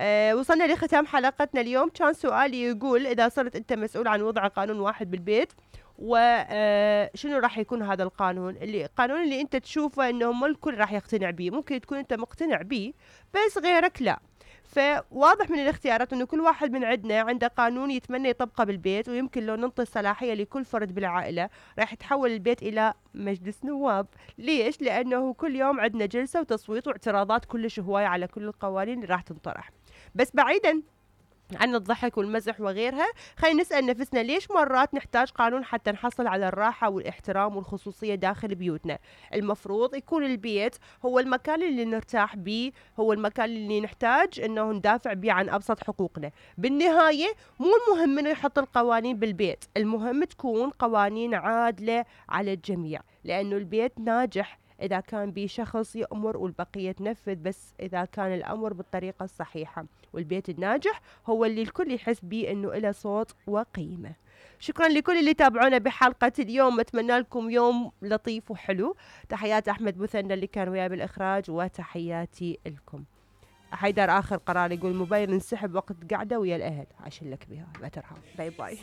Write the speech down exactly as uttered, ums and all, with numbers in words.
أه وصلنا لختام حلقتنا اليوم. كان سؤالي يقول إذا صرت أنت مسؤول عن وضع قانون واحد بالبيت، وشنو راح يكون هذا القانون؟ اللي القانون اللي أنت تشوفه إنه مو الكل راح يقتنع به، ممكن تكون أنت مقتنع به بس غيرك لا. فواضح من الاختيارات انه كل واحد من عندنا عنده قانون يتمنى يطبقه بالبيت، ويمكن لو ننطي الصلاحية لكل فرد بالعائلة راح يتحول البيت الى مجلس نواب. ليش؟ لانه كل يوم عندنا جلسة وتصويت واعتراضات كلش هواية على كل القوانين اللي راح تنطرح. بس بعيدا عن الضحك والمزح وغيرها، خلينا نسأل نفسنا ليش مرات نحتاج قانون حتى نحصل على الراحة والاحترام والخصوصية داخل بيوتنا؟ المفروض يكون البيت هو المكان اللي نرتاح بيه، هو المكان اللي نحتاج انه ندافع بيه عن ابسط حقوقنا. بالنهاية مو المهم انه يحط القوانين بالبيت، المهم تكون قوانين عادلة على الجميع، لانه البيت ناجح إذا كان بي شخص يأمر والبقية تنفذ، بس إذا كان الأمر بالطريقة الصحيحة. والبيت الناجح هو اللي الكل يحس بيه إنه إله صوت وقيمة. شكرا لكل اللي تابعونا بحلقة اليوم، أتمنى لكم يوم لطيف وحلو. تحيات أحمد مثنى اللي كان وياه بالإخراج، وتحياتي لكم. حيدر آخر قرار يقول موبايل انسحب وقت قاعدة ويا الأهل، عشان لك بها لا ترحم. باي باي.